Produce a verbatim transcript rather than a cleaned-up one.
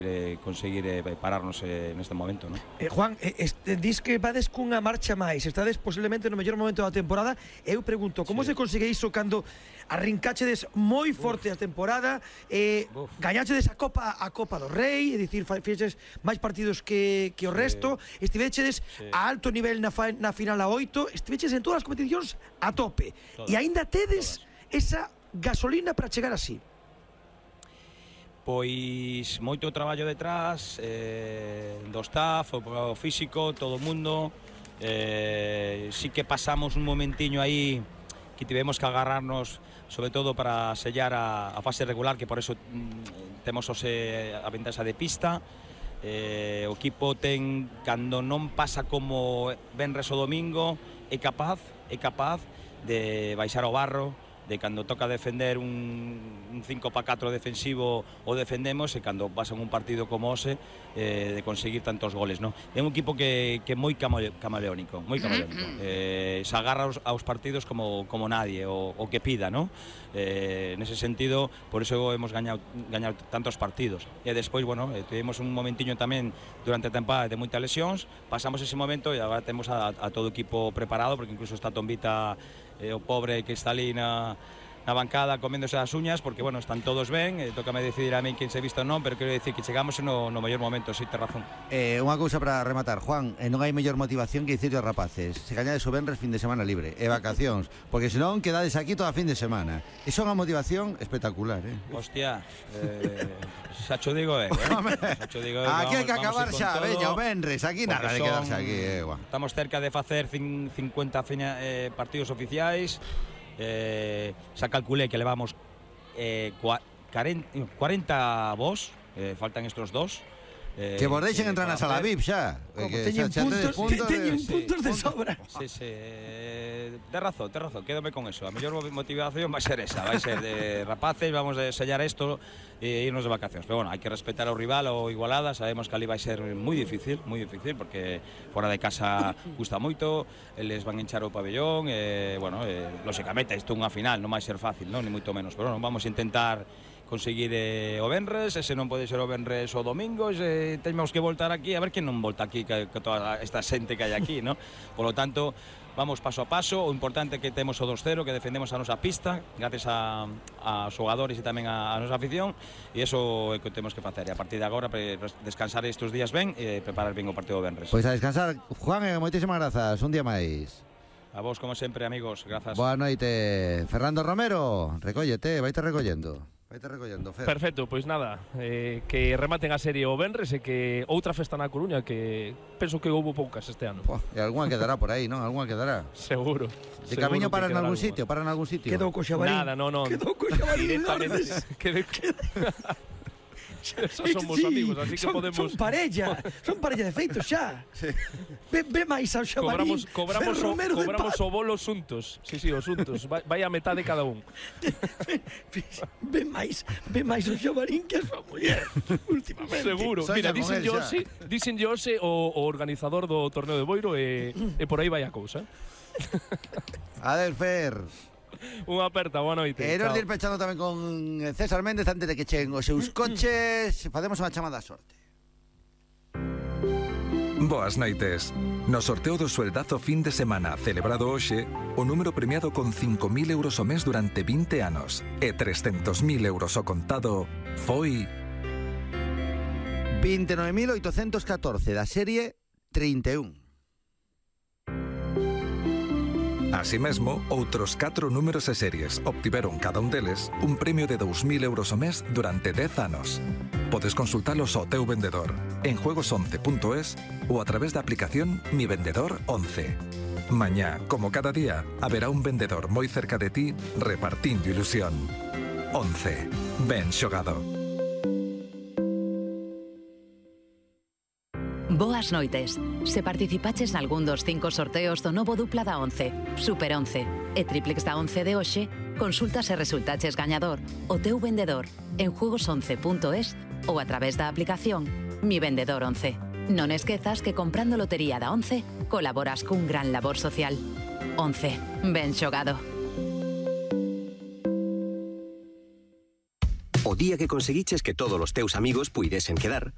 eh, conseguir eh, pararnos eh, neste momento, ¿no? Eh, Juan, eh, este, dis que vades cunha marcha máis, estades posiblemente no mellor momento da temporada. Eu pregunto, como sí. se consigue iso cando arrincachedes moi forte Uf. a temporada, eh, gañachedes a Copa a Copa do Rei, é dicir, fixeches máis partidos que, que o sí. resto, estivechedes sí. a alto nivel na, fa, na final a oito, estiveches en todas as competicións a tope, todas. E aínda tedes todas. esa gasolina para chegar así. Pois moito traballo detrás eh, do staff, o físico, todo o mundo. eh, Sí que pasamos un momentiño aí que tivemos que agarrarnos, sobre todo para sellar a, a fase regular, que por eso mm, temos ose, a ventaxa de pista. eh, O equipo ten, cando non pasa como venres o domingo, é capaz, é capaz de baixar o barro, de cando toca defender un, un cinco para catro defensivo o defendemos, e cando pasan un partido como ose eh, de conseguir tantos goles, ¿no? É un equipo que é moi camaleónico, moi camaleónico. Eh, se agarra aos, aos partidos como, como nadie, o, o que pida, ¿no? Eh, nese sentido, por eso hemos gañado, gañado tantos partidos. E despois, bueno, eh, tivemos un momentiño tamén durante a temporada de moitas lesións, pasamos ese momento e agora temos a, a todo o equipo preparado, porque incluso está Tombita, eh, o pobre que está ali na, na bancada coméndose as uñas, porque, bueno, están todos ben, eh, tócame decidir a min quen se visto ou non, pero quero dicir que chegamos no, no mellor momento, si, te razón. Eh, unha cousa para rematar, Juan, eh, non hai mellor motivación que dicirle aos rapaces, se gañades o venres fin de semana libre, e vacacións, porque senón quedades aquí toda fin de semana. Iso é unha motivación espectacular, eh? Hostia, eh, xa cho digo, eh, eh? Xa cho digo, aquí hai que acabar xa, todo, veña, o venres, aquí nada de quedarse aquí, eh, guau. Estamos cerca de facer cincuenta eh, partidos oficiais. Eh, xa calculé que levamos eh, cuarenta vos, eh, faltan estos dos. Eh, que vos deixen entrar na sala V I P xa. Teñen puntos, puntos, teñen sí, puntos de sobra. Sí, sí, eh, de razón, de razón, quédome con eso. A mellor motivación vai ser esa, vai ser de rapaces, vamos a sellar isto e irnos de vacacións. Pero bueno, hai que respetar ao rival, o Igualada, sabemos que ali vai ser moi difícil, moi difícil, porque fora de casa gusta moito, eles van enchar o pabellón, e, bueno, eh, lóxicamente, isto é unha final, non vai ser fácil, non, ni moito menos, pero bueno, vamos a intentar conseguir eh, o venres, ese non pode ser o venres o domingo, ese temos que voltar aquí, a ver quen non volta aquí, que, que toda esta xente que hai aquí, ¿no? Por lo tanto, vamos paso a paso, o importante é que temos o dos cero, que defendemos a nosa pista, gracias a, a xogadores e tamén a, a nosa afición, e iso é o que temos que facer, e a partir de agora pre, descansar estes días ben e preparar ben o partido do venres. Pois a descansar, Juan, e moitísimas grazas, un día máis. A vos, como sempre, amigos, grazas. Boa noite. Fernando Romero, recóllete, vaite recollendo. Vaite recollendo, Fer. Perfecto, pois nada, eh, que rematen a serie o venres e que outra festa na Coruña, que penso que houbo poucas este ano. Pua, e algunha quedará por aí, non? Algunha quedará. Seguro. De camiño para en algún sitio, para en algún sitio. Quedou co Xabarín. Nada, non, non. Quedou co Xabarín. Quedou Esos somos sí, amigos, así que son, podemos... Son parella, son parella de feito xa. Sí. Ve, ve máis ao Xabarín. Cobramos, cobramos, o, cobramos o bolo xuntos. Sí, sí, os xuntos. Vai, vai a metade cada un. Ve, ve, ve máis, ve máis o Xabarín que a súa muller, últimamente. Seguro. Mira, dicen Jose, dicen Jose o, o organizador do torneo de Boiro e, e por aí vai a cousa. Adel, Fer. Unha aperta, boa noite. E nos ir pechando tamén con César Méndez antes de que cheguen os seus coches. Facemos unha chamada a sorte. Boas noites. No sorteo do sueldazo fin de semana celebrado hoxe, o número premiado con cinco mil euros ao mes durante vinte anos e trescentos mil euros ao contado foi vinte e nove mil oitocentos catorce da serie trinta e un. Así mesmo, outros catro números e series obtiveron cada un deles un premio de dous mil euros ao mes durante dez anos. Podes consultalos ao teu vendedor en juegos once punto es ou a través da aplicación Mi Vendedor once. Mañá, como cada día, haberá un vendedor moi cerca de ti repartindo ilusión. once. Ben xogado. Boas noites. Se participaches nalgún dos cinco sorteos do novo dupla da once, Super once e Triplex da once de hoxe, consulta se resultaches gañador o teu vendedor en juegos once punto es ou a través da aplicación Mi Vendedor once. Non esquezas que comprando lotería da once colaboras cun gran labor social. once. Ben xogado. O o día que conseguiches que todos os teus amigos puidesen quedar.